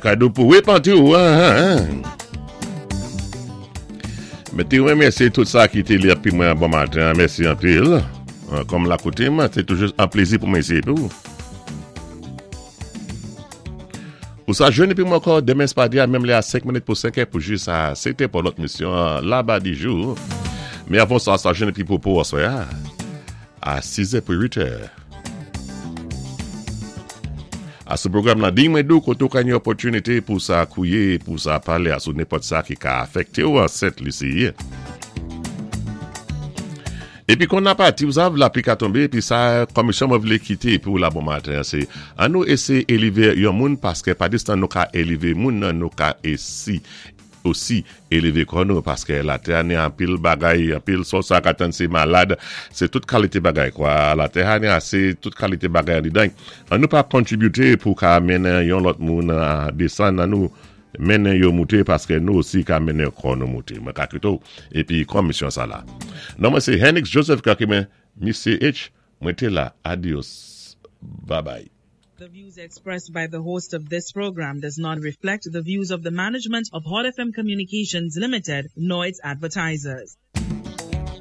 Kado pou répanti ou. Mwen té rémèsyé tout sa ki té la épi mwen bon maten. Mèsi anpil. Kòm la koutim, sé toujou an plézi pou mwen isi épi ou. Ou sa jwenn épi mwen ankò denmen spadi a menm lè a 5 minit pou 5 è pou jis a 7 è pou lòt misyon Laba di jou. Men avan sa, sa jwenn épi popo aswè a a 6 è pou 8 è. A sou pwogram la Di Mwen Dou koté ou ka gen opòtinité pou sa kouye, pou sa palé a sou nenpòt sa ki ka afèkté ou an Sent Lisi. Épi kon na pati ou sav lapli ka tonbé épi sa kòmisyon mwen vlé kité épi ou la bon maten an sé an nou éséyé élévé yon moun paskè pa distan nou ka élévé moun nan nou ka ési osi élévé kò nou paskè latè a ni anpil bagay anpil sa w sa ka tann sé malad sé tout kalité bagay kwa latè a ni asé tout kalité bagay andidan an nou pa kontribité pou ka mennen yon lòt moun desann an nou Mennen yo moute paske nou osi ka mennen kò nou moute. Mwen ka kite w epi kòm misyon sa la. Non mwen se Hennix Joseph Kakime, Misye H, mwen te la. Adios. Babay. The views expressed by the host of this program does not reflect the views of the management of Hot FM Communications Limited nor its advertisers.